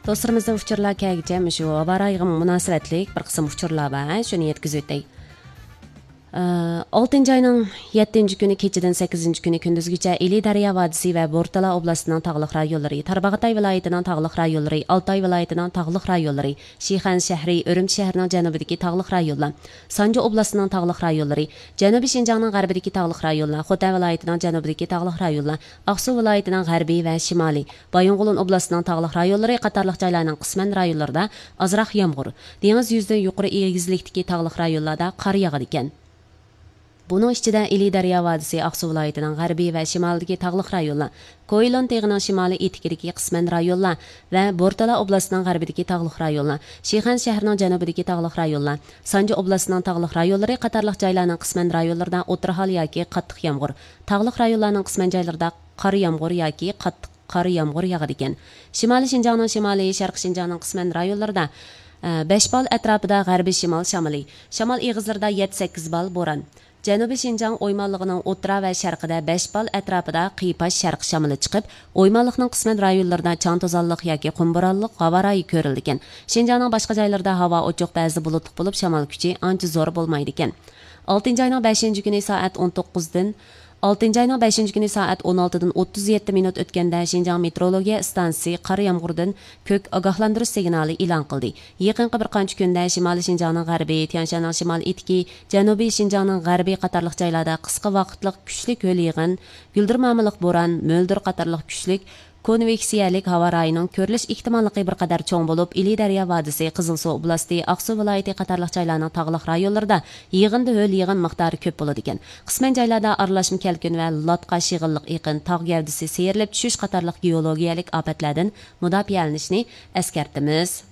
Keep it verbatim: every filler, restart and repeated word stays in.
دوستلىرىمىزدا ئۇچۇرلار كەلگۈچە مۇشۇ ھاۋا رايىغا مۇناسىۋەتلىك بىر قىسىم ئۇچۇرلار بار، شۇنى يەتكۈزۈۋۆتەي. ئالتىنچى ئاينىڭ يەتتىنچى كۈنى كېچىدىن سەككىزىنچى كۈنى كۈندۈزگىچە ئىلى دەريا ۋادىسى ۋە بورتالا ئوبلاستىنىڭ تاغلىق رايونلىرى، تارباغاتاي ۋىلايىتىنىڭ تاغلىق رايونلىرى، ئالتاي ۋىلايىتىنىڭ تاغلىق رايونلىرى، شىخەن شەھىرى، ئۈرۈمچى شەھىرىنىڭ جەنۇبىدىكى تاغلىق رايونلار، سانجى ئوبلاستىنىڭ تاغلىق رايونلىرى، جەنۇبىي شىنجاڭنىڭ غەربىدىكى تاغلىق رايونلار، خوتەن ۋىلايىتىنىڭ جەنۇبىدىكى تاغلىق رايونلار، ئاقسۇ ۋىلايىتىنىڭ غەربىي ۋە شىمالىي، بايىنغولىن ئوبلاستىنىڭ تاغلىق رايونلىرى قاتارلىق جايلارنىڭ قىسمەن رايونلىرىدا ئازراق يامغۇر، دېڭىز يۈزىدىن يۇقىرى ئېگىزلىكتىكى تاغلىق رايونلاردا قار ياغىدىكەن. بۇنىڭ ئىچىدە ئىلى دەريا ۋادىسى، ئاقسۇ ۋىلايىتىنىڭ غەربىي ۋە شىمالىدىكى تاغلىق رايونلار، كوئىلون تېغىنىڭ شىمالىي ئېتىكىدىكى قىسمەن رايونلار ۋە بورتالا ئوبلاستىنىڭ غەربىدىكى تاغلىق رايونلار، شىخەن شەھىرىنىڭ جەنۇبىدىكى تاغلىق رايونلار، سانجى ئوبلاستىنىڭ تاغلىق رايونلىرى قاتارلىق جايلارنىڭ قىسمەن رايونلىرىدا ئوتتۇرا ھال ياكى قاتتىق يامغۇر، تاغلىق رايونلارنىڭ قىسمەن جايلىرىدا قارا يامغۇر ياكى قاتتىق قارا يامغۇر ياغىدىكەن. شىمالىي شىنجاڭنىڭ شىمالىي، شەرقىي شىنجاڭنىڭ قىسمەن رايونلىرىدا، ئە، بەش بال ئەتراپىدا غەربىي شىمال شامىلى، شامال ئېغىزلىرىدا يەتتە سەككىز بال بوران. جەنۇبىي شىنجاڭ ئويمانلىقىنىڭ ئوتتۇرا ۋە شەرقىدە بەش بال ئەتراپىدا قىيپاش شەرقىي شامىلى چىقىپ، ئويمانلىقنىڭ قىسمەن رايونلىرىدا چاڭ توزانلىق ياكى قۇم بورانلىق ھاۋا رايى كۆرۈلىدىكەن. شىنجاڭنىڭ باشقا جايلىرىدا ھاۋا ئوچۇق، بەزىدە بۇلۇتلۇق بولۇپ، شامال كۈچى ئانچە زور بولمايدىكەن. ئالتىنچى ئاينىڭ بەشىنچى كۈنى سائەت ئون توققۇزدىن، ئالتىنچى ئاينىڭ بەشىنچى كۈنى سائەت ئون ئالتىدىن ئوتتۇز يەتتە مىنۇت ئۆتكەندە، شىنجاڭ مېتېئورولوگىيە ئىستانسىسى قار يامغۇردىن كۆك ئاگاھلاندۇرۇش سىگنالى ئېلان قىلدى. يېقىنقى بىر قانچە كۈندە شىمالىي شىنجاڭنىڭ غەربى، تيەنشاننىڭ شىمال ئېتىكى، جەنۇبىي شىنجاڭنىڭ غەربى قاتارلىق جايلاردا قىسقا ۋاقىتلىق كۈچلۈك ھۆل يېغىن، گۈلدۈرمامىلىق بوران، مۆلدۈر قاتارلىق كۈچلۈك كونۋېكسىيەلىك ھاۋا رايىنىڭ كۆرۈلۈش ئېھتىماللىقى بىر قەدەر چوڭ بولۇپ، ئىلى دەريا ۋادىسى، قىزىلسۇ ئوبلاستى، ئاقسۇ ۋىلايىتى قاتارلىق جايلارنىڭ تاغلىق رايونلىرىدا يېغىندا ھۆل يېغىن مىقدارى كۆپ بولىدىكەن. قىسمەن جايلاردا ئارىلاشما كەلكۈن ۋە لاتقا، شېغىللىق ئېقىن، تاغ گەۋدىسى سىيرىلىپ چۈشۈش قاتارلىق گېئولوگىيەلىك ئاپەتلەردىن مۇداپىئەلىنىشنى ئەسكەرتىمىز.